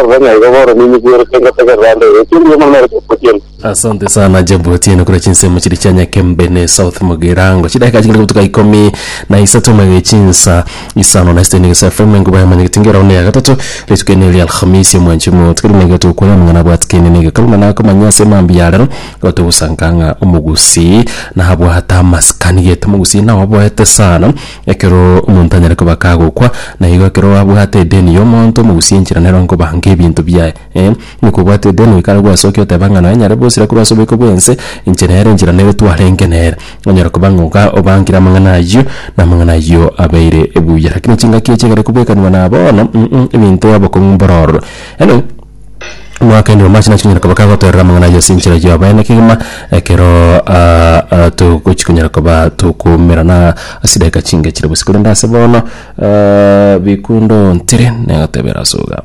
Nkorora ng'a igo bono ninyigwerete ngotegerera ande iga. Ekio mbuya mono nere Jebu Otieno. Asante sana Jebu Otieno korwa chinsemo chiria chia Nyakembene South Mugirango. Chidakika chikare gotuka ikomi na isato magega chinsa isano na sitini gesa FM enkuba ya manyageti ngera one ya gatato rituko ene ria Alhamisi omwanchi omotikari magega tokwana amang'ana abwatikene na egekaru na nakomanya ase mambia ya rero igo togosanka ng'a omogusii nabwate amasikani gete omogusii naoboete sana Ekero omonto anyare koba kagokwa, na igo ekero abwate edeni y'omonto, omogusia enchera nero nkobanga ebinto biaye. Eh, onye kobwate edeni goika are gwasokia oteba ng'a nonya nyare bosira korwa ase oboiko bw'ense, inche nere enchera nere twarenge nere. Onyare koba ng'a oga obangire amang'ana ayio, na amang'ana ayio abeire buya. Lakini chingaki echi ekero ekobwekanigwa na bono mh ebinto abokong'u mboro ororo. Anyway. Omwaka ende omache nachia konyara koba kagotoerera amang'ana ayio ase enchera y'oboene kegima, ekero togochia konyara koba tokomerana ase chidakika chinge chire bosio. Korende ase bono bikundo ntire negotebera ase iga.